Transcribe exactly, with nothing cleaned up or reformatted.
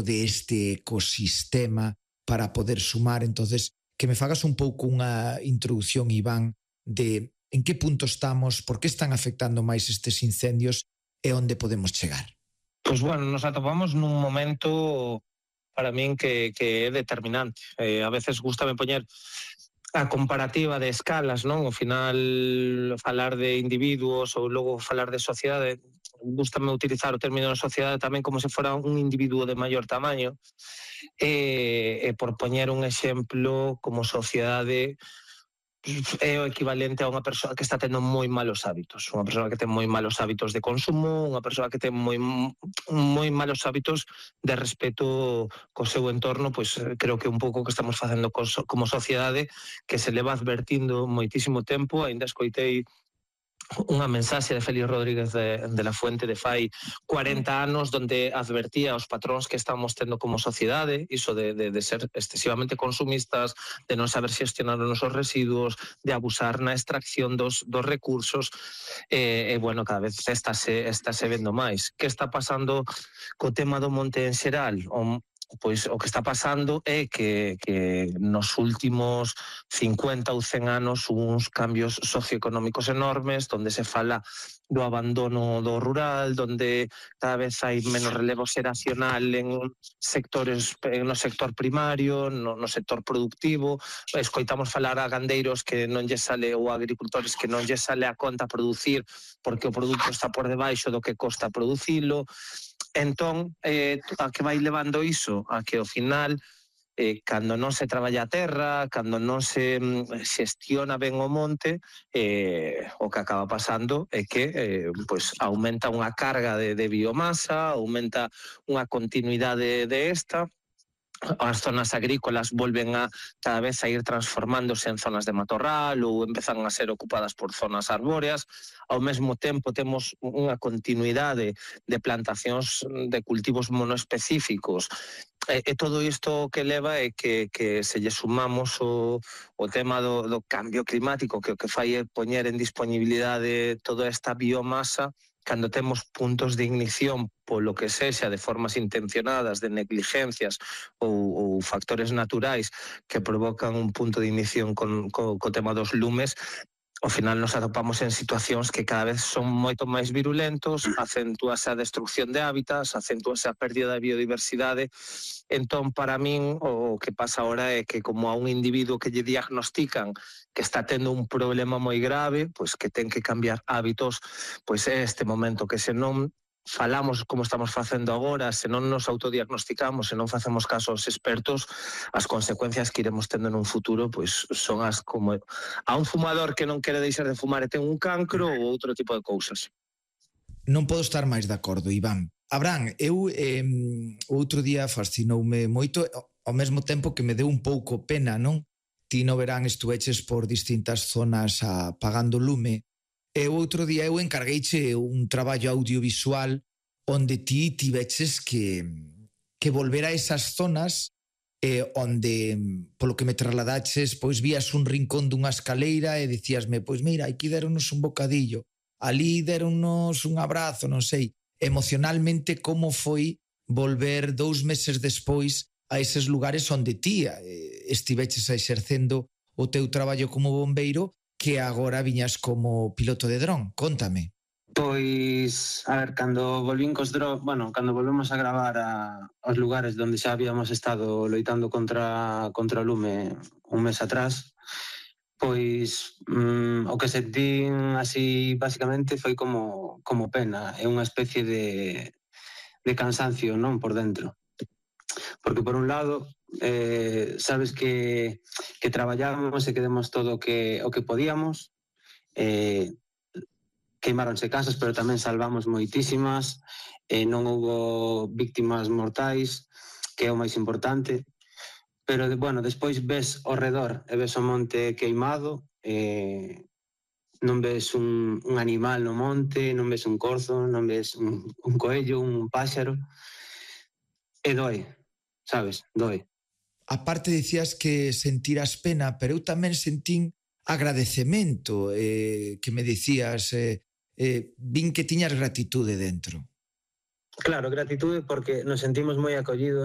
de este ecosistema para poder sumar. Entonces, que me fagas un pouco unha introducción, Iván, de en que punto estamos, por que están afectando máis estes incendios e onde podemos chegar. Pois bueno, nos atopamos nun momento para min que, que é determinante. Eh, a veces gustame poñer a comparativa de escalas, non? Ao final, falar de individuos ou logo falar de sociedade, gustame utilizar o término de sociedade tamén como se fora un individuo de maior tamaño, e, e por poñer un exemplo, como sociedade é o equivalente a unha persoa que está tendo moi malos hábitos, unha persoa que ten moi malos hábitos de consumo, unha persoa que ten moi moi malos hábitos de respeto co seu entorno. Pois creo que un pouco que estamos facendo como sociedade, que se leva advertindo moitísimo tempo. Ainda escoitei unha mensaxe de Félix Rodríguez de, de la Fuente de fai cuarenta anos, donde advertía aos patróns que estamos tendo como sociedade, iso de, de, de ser excesivamente consumistas, de non saber xestionar os nosos residuos, de abusar na extracción dos, dos recursos, e, e bueno, cada vez estáse, estáse vendo máis. Que está pasando co tema do monte en xeral? O, Pois o que está pasando é que, que nos últimos cincuenta ou cen anos uns cambios socioeconómicos enormes, donde se fala do abandono do rural, donde cada vez hai menos relevo xeracional en sectores, no sector primario, no, no sector productivo. Escoitamos falar a gandeiros que non lle sale, ou a agricultores que non lle sale a conta producir porque o produto está por debaixo do que costa producilo. Entón, eh, a que vai levando iso? A que ao final, eh, cando non se traballa a terra, cando non se mm, xestiona ben o monte, eh, o que acaba pasando é que eh, pues, aumenta unha carga de, de biomasa, aumenta unha continuidade de esta. As zonas agrícolas volven a cada vez a ir transformándose en zonas de matorral ou empezan a ser ocupadas por zonas arbóreas. Ao mesmo tempo temos unha continuidade de plantacións de cultivos monoespecíficos. E, e todo isto que leva é que, que se lle sumamos o, o tema do, do cambio climático, que o que fai é poñer en disponibilidade toda esta biomasa, cando temos puntos de ignición polo que sexa, de formas intencionadas, de negligencias ou, ou factores naturais que provocan un punto de ignición con, co, co tema dos lumes, ao final nos atopamos en situacións que cada vez son moito máis virulentos, acentúase a destrucción de hábitats, acentúase a pérdida da biodiversidade. Entón, para min, o que pasa agora é que como a un individuo que lle diagnostican que está tendo un problema moi grave, pois que ten que cambiar hábitos, pois é este momento que se non falamos como estamos facendo agora, se non nos autodiagnosticamos, se non facemos caso aos expertos, as consecuencias que iremos tendo nun futuro pois son as como a un fumador que non quere deixar de fumar e ten un cancro ou outro tipo de cousas. Non podo estar máis de acordo, Iván. Abraham, eu eh, outro día fascinoume moito, ao mesmo tempo que me deu un pouco pena, non? Ti no verán estuveches por distintas zonas apagando lume. E o outro día eu encargueiche un traballo audiovisual onde ti tiveches que, que volver a esas zonas eh, onde, polo que me trasladaches, pois vías un rincón dunha escaleira e dicíasme, pois mira, aquí deronos un bocadillo, ali deronos un abrazo, non sei. Emocionalmente, como foi volver dous meses despois a eses lugares onde ti eh, estiveches exercendo o teu traballo como bombeiro, que agora viñas como piloto de dron? Contame. Pois, a ver, cando volvín cos dron, bueno, cando volvemos a gravar a, aos lugares onde xa habíamos estado loitando contra, contra o lume un mes atrás, pois mm, o que sentín así basicamente foi como, como pena, é unha especie de, de cansancio, non, por dentro. Porque por un lado, eh, sabes que, que traballábamos e que demos todo o que, o que podíamos, eh, queimáronse casas, pero tamén salvamos moitísimas, eh, non houbo víctimas mortais, que é o máis importante, pero, bueno, despois ves ao redor e ves o monte queimado, eh, non ves un, un animal no monte, non ves un corzo, non ves un, un coello, un páxaro, e doe, sabes, doe. Aparte dicías que sentiras pena, pero eu tamén sentín agradecemento, eh, que me dicías, eh, eh, vin que tiñas gratitude dentro. Claro, gratitude porque nos sentimos moi acollidos